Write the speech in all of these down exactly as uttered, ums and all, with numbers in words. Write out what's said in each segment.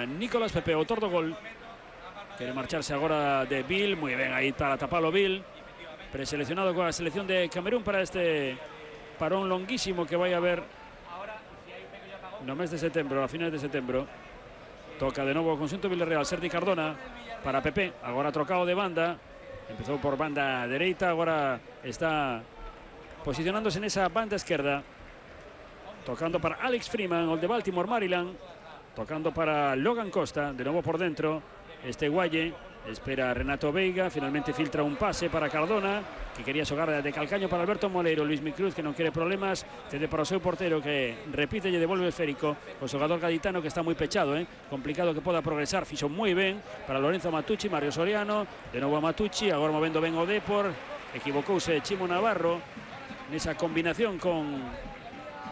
Nicolás Pepe, autor do gol. Quere marcharse agora de Bill, moi ben aí para tapalo Bill. Preseleccionado coa selección de Camerún para este parón longuísimo que vai a haber no mes de setembro, a finales de setembro. Toca de novo o conxunto Villarreal, Sergi Cardona para Pepe, agora trocado de banda. Empezou por banda dereita, agora está posicionándose nesa banda esquerda. Tocando para Alex Freeman, el de Baltimore, Maryland. Tocando para Logan Costa, de nuevo por dentro. Este Guaye, espera Renato Veiga, finalmente filtra un pase para Cardona, que quería xogar de calcaño para Alberto Moleiro. Luis Micruz, que non quere problemas, cede para o seu portero, que repite e devolve o esférico. O xogador gaditano, que está moi pechado, eh? complicado que poda progresar, fixo moi ben para Lorenzo Matucci, Mario Soriano, de novo a Matucci, agora movendo ben o Depor, equivocouse Chimo Navarro nesa combinación con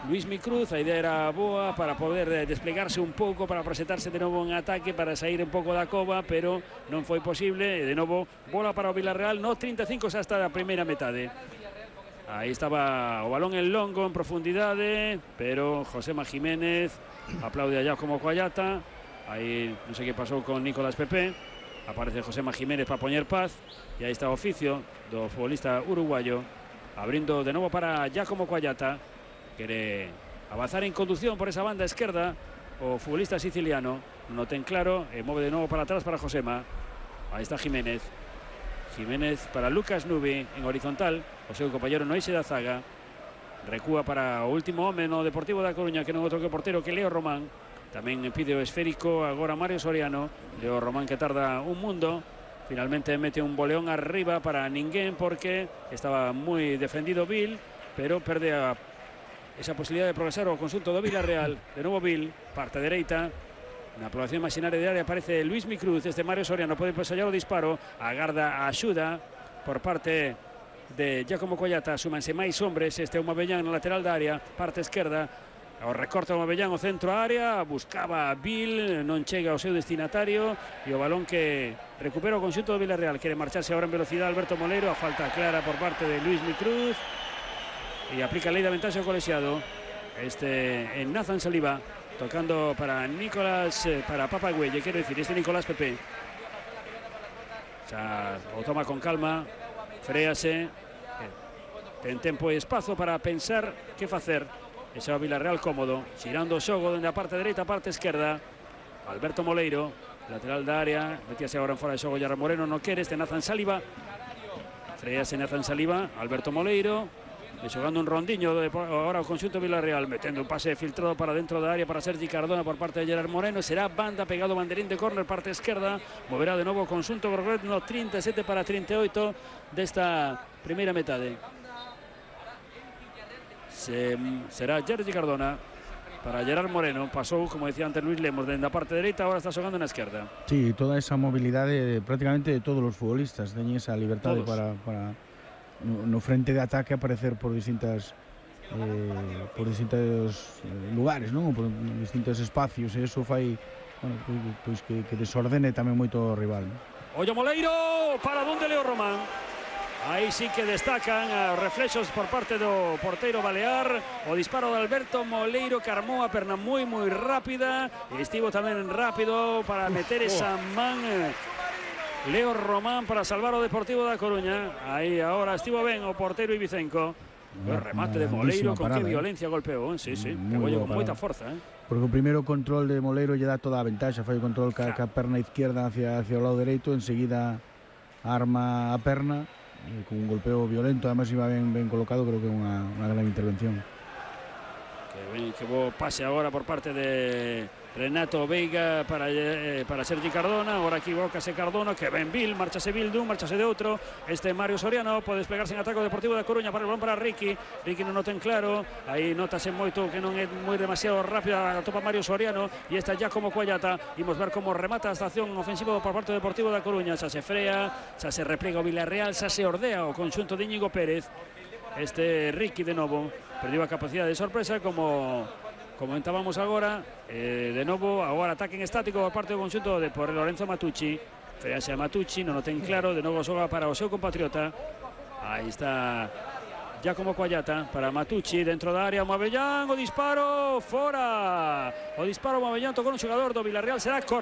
Luis Micruz. A idea era boa para poder desplegarse un pouco, para presentarse de novo en ataque, para sair un pouco da cova, pero non foi posible. De novo, bola para o Villarreal, no trinta e cinco xa hasta a primeira metade. Aí estaba o balón en longo, en profundidade, pero Josema Jiménez aplaude allá como Coallata. Aí non sei que pasou con Nicolás Pepe. Aparece Josema Jiménez para poñer paz. E aí está o oficio do futbolista uruguayo, abrindo de novo para Giacomo Coallata. Quere avanzar en conducción por esa banda esquerda o futbolista siciliano, non ten claro, e move de novo para atrás para Josema. Aí está Jiménez. Jiménez para Lucas Nubi en horizontal, o seu compañero no eixe da zaga. Recúa para o último home no Deportivo da Coruña, que non outro que o portero, que Leo Román. Tamén pide o esférico agora Mario Soriano. Leo Román, que tarda un mundo. Finalmente mete un boleón arriba para ninguén, porque estaba moi defendido Bill, pero perde a esa posibilidad de progresar o consulto do Villarreal. De novo Bill, parte dereita. Na aprobación imaginaria de área aparece Luis Micruz. Este Mario Soriano pode ensayar o disparo. Agarda a axuda por parte de Giacomo Coallata. Súmanse máis hombres. Este é o Mabellán na lateral da área, parte esquerda. O recorta o Mabellán o centro a área. Buscaba a Bill, non chega ao seu destinatario. E o balón que recupera o conxunto do Villarreal. Quere marcharse agora en velocidade Alberto Moleiro. A falta clara por parte de Luis Micruz. Y aplica ley de ventaja colegiado. Este en Nathan Saliba, tocando para Nicolás, eh, para Papa Güelle, quiero decir, este Nicolás Pepe. O sea, o toma con calma, fréase, eh, ten tempo e espazo para pensar que facer. Ese é o Villarreal cómodo, xirando o xogo dende a parte dereita a parte esquerda. Alberto Moleiro, lateral da área, metíase agora en fora de xogo Yarra Moreno, no quere, este Nathan Saliba. Fréase Nathan Saliba, Alberto Moleiro. E xogando un rondiño de, agora o conxunto Villarreal, metendo un pase filtrado para dentro da área para Sergi Cardona por parte de Gerard Moreno. Será banda, pegado banderín de córner, parte esquerda. Moverá de novo o conxunto Gorglet no trinta e sete para trinta e oito desta primeira metade. Se, será Sergi Cardona para Gerard Moreno. Pasou, como decía antes Luis Lemos, dende a parte dereita, agora está xogando na esquerda. Sí, toda esa movilidade prácticamente de todos os futbolistas, teñen esa liberdade para... para... No, no frente de ataque aparecer por distintas eh, por distintos lugares, non? Por distintos espacios, e iso fai, bueno, pois, pois que, que desordene tamén moito o rival, non? Ollo Moleiro, para donde Leo Román. Aí sí que destacan os reflexos por parte do porteiro balear. O disparo de Alberto Moleiro, que armou a perna moi moi rápida, e estivo tamén rápido para meter esa man Leo Román para salvar o Deportivo da Coruña. Aí agora estivo ben o porteiro Ibicenco. O remate de Moleiro, con que violencia golpeou, eh? Sí, sí, pegou con moita forza, eh? Porque o primeiro control de Moleiro lle dá toda a ventaxa. Fai o control ca, ca perna izquierda hacia, hacia o lado dereito, enseguida arma a perna e con un golpeo violento, además iba ben, ben colocado. Creo que é unha, unha gran intervención. Que ben, que bo pase agora por parte de Renato Veiga para, eh, para Sergi Cardona. Agora equivócase Cardona, que ben Bill, marchase Bill dun, marchase de outro. Este Mario Soriano pode desplegarse en ataque o Deportivo da Coruña para el balón para Ricky. Ricky non o ten claro, aí notase moito que non é moi demasiado rápida a topa Mario Soriano. E está ya como Coallata. Imos ver como remata a estación ofensiva por parte do Deportivo da Coruña. Xa se frea, xa se repliega o Villarreal, xa se ordea o conxunto de Íñigo Pérez. Este Ricky de novo perdiu a capacidade de sorpresa, como comentábamos agora. Eh, de novo, agora ataque en estático por parte do conxunto de por Lorenzo Matucci. Frease a Matucci, non o ten claro. De novo xoga para o seu compatriota. Aí está Giacomo Coallata para Matucci dentro da área. Mabellán, o disparo fora. O disparo Mabellán tocou un xogador do Villarreal, será córner.